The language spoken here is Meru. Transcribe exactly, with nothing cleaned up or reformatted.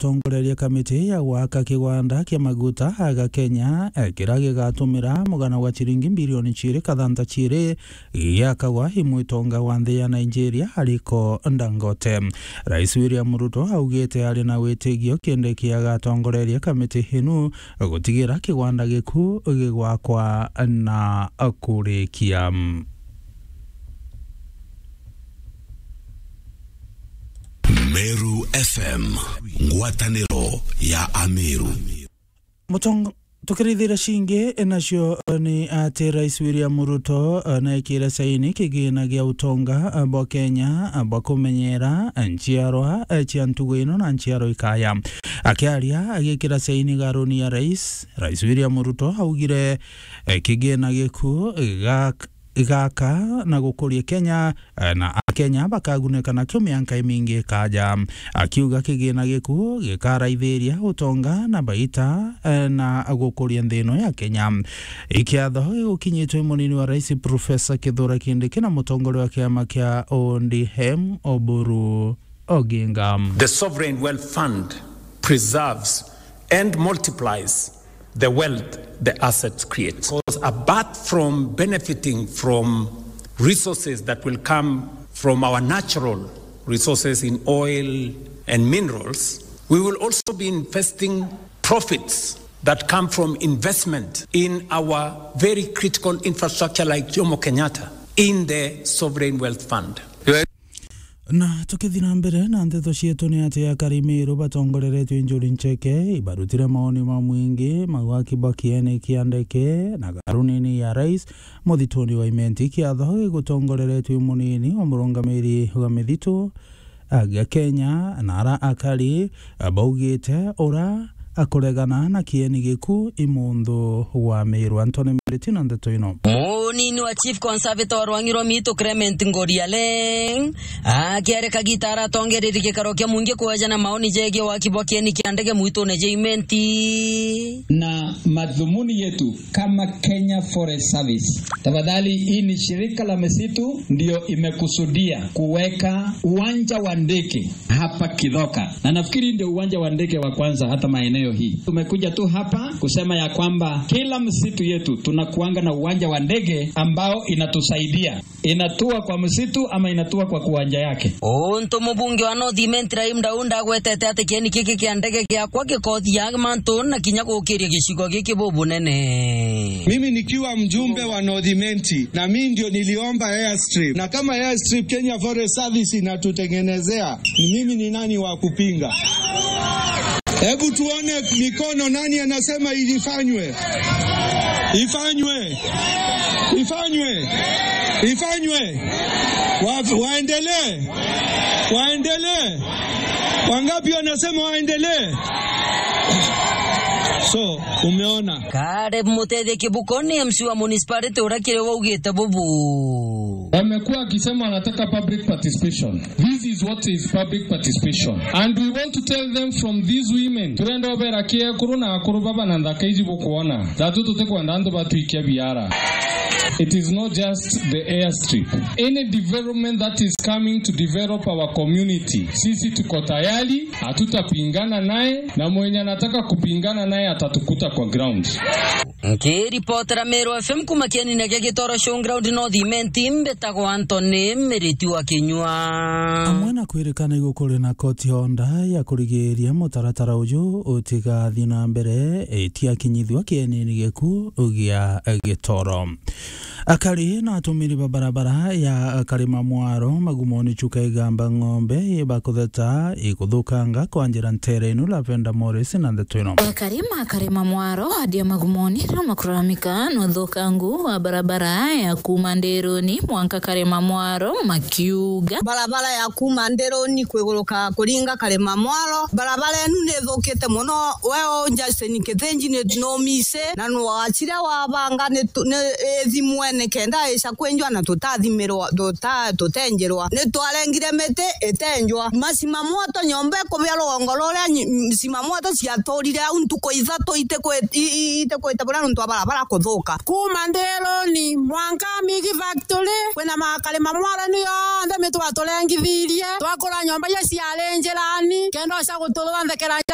gutongoreria kamiti ya gwaka kigwanda kia maguta aga Kenya, eh, kiria gigatumira mugana wa ciringi bilioni ciiri kathanta ciiri giakagwa i mwitonga wa nthi ya Nigeria, Aliko Dangote. Rais William Ruto augite ari na witigio Kindiki agatongoreria kamiti inu gutigira kigwanda giku gigwakwa na kurikia. Meru F M, ngwataniro ya Ameru. Mutong-, tukirithira cingi nacio ni ati Rais William Ruto, eh, naikire saini kigina gia utonga, eh, bwa Kenya, eh, bwa kumenyera, eh, nchiarwa, eh, cia ntugu ino na nchiarwa ikaya. Akiaria agikira saini garuni ya rais, Rais William Ruto augire, eh, kigina giku gak-, gaka na gukuria Kenya, eh, na Akenya bakaguneka nakio mianka imingi ikaja. Akiuga kigina giku gikaraithiria utonga na baita, eh, na gukuria nthi ino ya Kenya. Ikiatho gigukinyitwe i munini wa rais Professor Kithure Kindiki na mutongoria wa kiama kia O D M Oburu Oginga. The Sovereign Wealth Fund preserves and multiplies the wealth the assets create. Because apart from benefiting from resources that will come from our natural resources in oil and minerals, we will also be investing profits that come from investment in our very critical infrastructure like Jomo Kenyatta in the Sovereign Wealth Fund. Na tukithii na mbere na nteto cietu, ni ati akari Meru batongoreretue i Njuri Ncheke ibarutire maoni ma mwingi magwaki ba kieni kia ndeke na garunini ya rais muthituni wa Imenti. Kiatho gigutongoreretue i munini wa murungamiri wa mithitu agia Kenya, na ara akari baugite ura akuregana na kieni giku i munthu wa Meru. Antoni Miriti na nteto ino. Munini wa Chief Conservator wa Rwang'i rwa Miitu Clement Ngorialeng akiarika gita aratongereria gikaro kia mwingi kwejana maoni jegie waki bwa kieni kia ndege mwitune ja Imenti. Na madhumuni yetu kama Kenya Forest Service, tafadhali, hii ni shirika la misitu ndio imekusudia kuweka uwanja wa ndege hapa Kithoka. Na nafikiri ndio uwanja wa ndege wa kwanza hata maeneo hii. Tumekuja tu hapa kusema ya kwamba kila msitu yetu tunakuanga na uwanja wa ndege ambao inatusaidia. Inatua kwa msitu ama inatua kwa kiwanja yake. Untu mubunge wa North Imenti Rahim Daud agwetete ati kieni giki kia ndege giakwa gikothia mantu na kinya gukiria gicigo giki bubunene. Mimi nikiwa mjumbe wa North Imenti, na mimi ndio niliomba airstrip. Na kama airstrip Kenya Forest Service inatutengenezea, ni mimi ni nani wa kupinga? Hebu tuone mikono, nani anasema ilifanywe? Ifanywe. Ifanywe. Ifanywe. Wa-, waendelee. Waendelee. Wangapi wanasema waendelee? So, umeona. Caleb Mutethia Kibuko ni M C wa municipality uria kiri waugite bubu. Wamekuwa wakisema wanataka public participation. This is what is public participation. And we want to tell them from these women. Turenda ubera ki ekuru na akuru baba na nthaka iji bukwona. Thatu tutikwenda antu batwikia biara. It is not just the airstrip. Any development that is coming to develop our community, sisi tuko tayari, hatutapingana naye, na mwenye anataka kupingana naye atatukuta kwa ground. Nkiripotera Meru F M kuma kienine gia Gitoro Showground North Imenti, mbitagwa Anthony Miriti wa Kinyua. Amwe na kwirikana igukuri na koti honda ya kurigiria mutaratara uju utigathi na mbere, itiakinyithua kienini giku gia Gitoro. Akari na atumiri ba barabara ya Karima Mwaro Magumoni Chuka Igamba Ng'ombe ibakutheta ikuthukanga kwa njira ntere inu. Lavenda Morris na ndeto ino. Akari ma Karima Mwaro adia Magumoni makuramika na uthukangu wa barabara ya kuma Ndiruni mwanka Karima Mwaro makiuga, barabara ya kuma Ndiruni kwiguruka kuringa Karima Mwaro, barabara inu ni Ukite muno we, u Justin Kithinji, ni numise na nwachire wabanga ni tu- ni ithimwe nikenda ica kwinjwa na tutathimirwa, tuta- tutenjirwa. Ni twarengire miti itenjwa. Macima mwoto nyomba ikubia rugongo ruria nyi- m- cima mwoto ciaturire au ntuku ithatu itikwi- i- i- itikwite buria nontu wa barabara kuthuka. Kuma Ndiruni mwanka Migi Factory, kwina makarima mwarani yonthe mi twaturengithirie, twakura nyomba iria ciari njirani, kenda uca guturutha nthekera njira